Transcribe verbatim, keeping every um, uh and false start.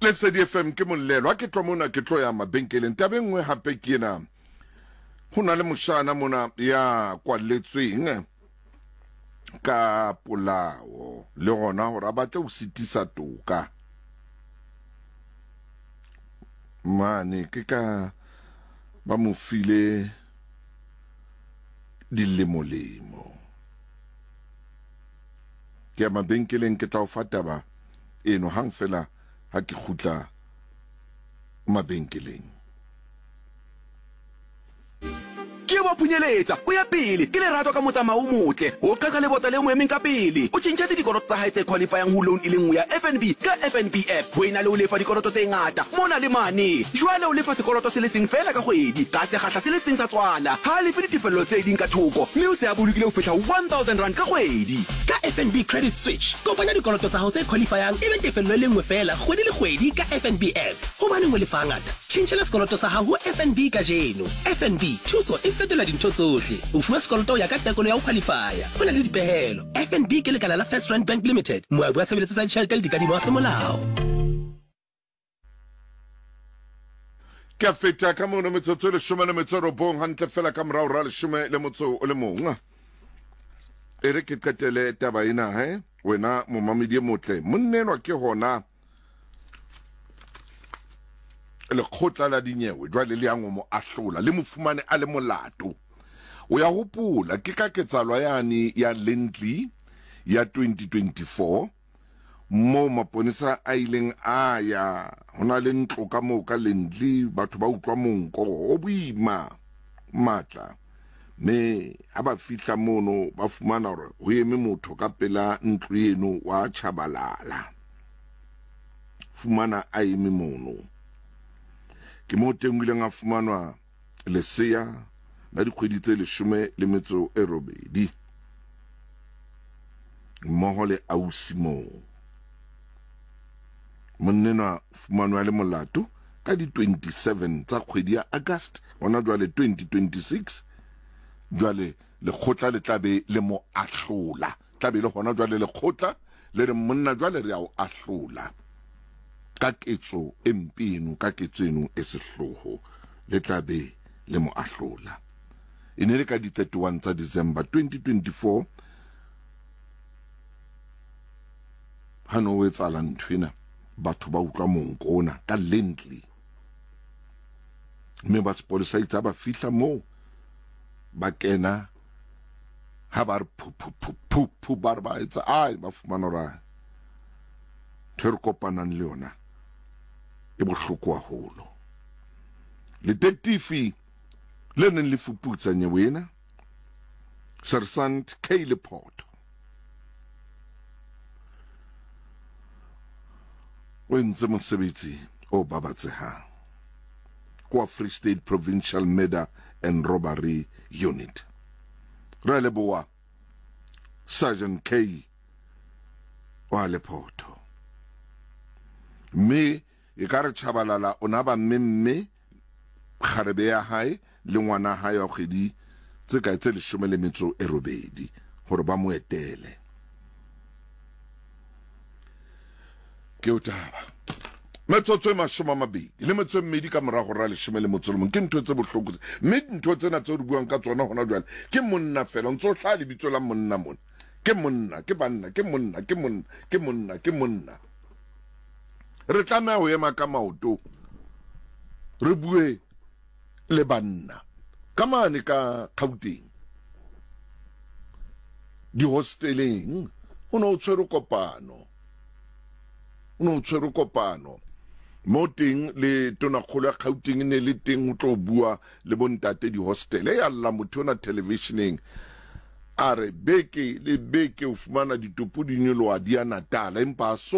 Lesedi F M ke mollelo. Ha ke tlo mona, ke tlo ya mabenkeleng. Taba e nngwe hape ke ena: ho na le moshana mona ya kwalletsweng ka polao le gona gore a batle ho sitisa toka mane. Ke ka ba mo file dilemolemo. Ke ya mabenkeleng, ke tla o fa taba eno hang fela ha ke kgutla mabenkeleng. Ke wa phunyeletsa o ya pele ke Lerato ka motsamao o motle o qeka lebota le mo emeng ka pele. O tjhentjhetse dikoloto tsa hae tse qualifyang ho loan e le nngwe ya F N B ka F N B app ho ena le ho lefa dikoloto tse ngata mona le mane. Jwale o lefa sekoloto se le seng feela ka kgwedi ka sekgahla se le seng sa tswala, ha a lefe ditefello tse ding ka thoko, mme o se a bolokile ho fihla one thousand rand ka kgwedi. Ka F N B Credit Switch, kopanya dikoloto tsa hao tse qualifyang e be tefello e le nngwe feela kgwedi le kgwedi ka F N B app. Hobaneng o lefa ngata? Tjhentjhela sekoloto sa hao ho F N B kajeno. F N B, thuso e fetola dintho tsohle. O fuwa sekoloto ho ya ka tekolo ya ho qualifya. Ho na le dipehelo. F N B ke lekala la First Rand Bank Limited, moabi wa tshebeletso tsa ditjhelete le dikadimo wa semolao. Ke a feta ka mono, metsotso e leshome le metso e robong hantle fela ka morao ra leshome le motso o le mong. E re ke qetele taba ena he, wena momamedi e motle. Monnenwa ke hona lekgotla la dinyewe jwale le yang ho mo ahlola, le mo fumane a le molato. O ya hopola ke ka ketsahalo yane ya Lindley ya twenty twenty-four moo maponesa a ileng a ya ho na le ntlo ka moo ka Lindley, batho ba utlwa monko o boima matla, mme ha ba fihla mono ba fumana hore ho eme motho ka pela ntlo eno wa Chabalala, fumana a eme mono. Ke mo teng o ileng a fumanwa lesea la dikgwedi tse leshome le metso e robedi mmoho le ausi moo. Monnenwa fumanwa le molato ka di twenty-seven tsa kgwedi ya August hona jwale twenty twenty-six. Jwale lekgotla le tlabe le mo ahlola, tlabe le hona jwale lekgotla le re monna jwale re a o ahlola ka ketso e mpe eno, ka ketso eno e sehloho. Le tlabe le mo ahlola, e ne le ka di thirty-one tsa December twenty twenty-four ha no o etsahala nthwena, batho ba utlwa monko ona ka Lindley, mme ba sepolesa itse ha ba fihla moo ba kena, ha ba re phu phu phu phu phu, ba re ba etsa ai, ba fumana hore ntho e re kopanang le yona e bohloko haholo. Detective le neng le fuputsa nyewe ena, Sergeant K Lephoto, o entse mosebetsi o babatsehang kwa Free State Provincial Murder and Robbery Unit. Re leboa Sergeant K wa Lephoto. Mme e ka re Chabalala o na ba mmemme kgarebe ya hae le ngwana hae wa kgwedi tse kae, tse leshome le metso e robedi, hore ba mo etele. Ke o taba metsotso e mashome a mabedi le metso e mmedi ka morago ra leshome le motso le mong. Ke ntho tse bohloko tse, mme ntho tsena tseo re buang ka tsona hona jwale ke monna fela o ntse o hlaha lebitso la monna mona. Ke monna, ke banna, ke monna, ke monna, ke monna, ke monna. Re tlameha ho ema ka maoto, re bue le banna ka mane ka Gauteng dihosteleng. Ho ne o tshwere kopano, o ne o tshwere kopano mo teng le tonakgolo ya Gauteng e ne le teng ho tlo bua le bontate dihostele. Ya lla motho ona televisioneng a re beke le beke o fumana ditopo di nyoloha di ya Natala, empa a so